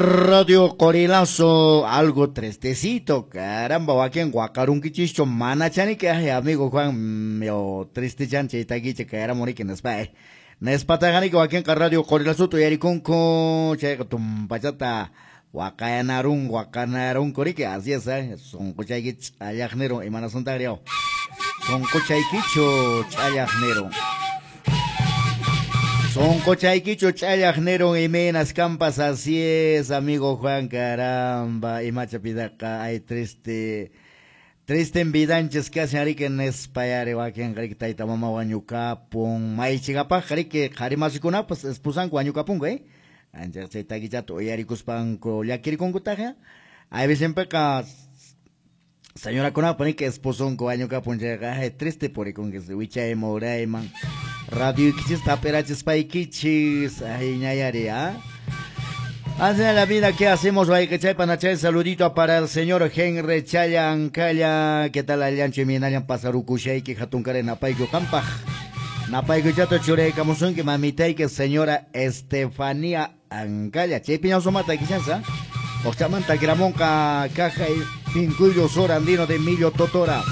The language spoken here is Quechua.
Radio Qorilazo, algo tristecito, caramba, wakin waqarunkichischu mana chaniki, ay amigo Juan, yo triste chan chay takicha kayaramuniki nispa, nispataqaniki wakinqa Radio Qorilazuta uyarikunku, chayqa tumpachata waqayanarun, waqanarunku riki, así es, sunquchayki ch'allaqnirun, imanasuntaqri yaw, sunquchaykichu ch'allaqnirun. Soncochayquicho ch'allaq nirun imaynas kampas, así es, amigo Juan, caramba, imacha pidaqa, ay triste, triste en vidanchis casi arike nespayari wakin riki tayta mama wañukapun, maychikapaq riki qhari masikunapas esposanku wañukapunku, ancha chay takichata uyarikuspanku llakirikunkutaq, ay vecinpiqa señorakunapa riki esposonku wañukapun chayqa, ay triste purikunkis wichayman urayman. Radio ikichis taperachispaykichis, ay ñayari, ¿ah? Así es la vida, ¿qué hacemos? Panachay, saludito para el señor Henry Chaya Ancalla. ¿Qué tal, Allancho y Minayan Pasarukushayki, Hatunkare, Napayku, Kampaj? Napayku chato churaykamusunki, mamitayki, señora Estefanía Ancalla. Chay piñasumata, quizás, Ochamanta, Gramonca, Caja y Pincuyo Sur Andino de Millo Totora.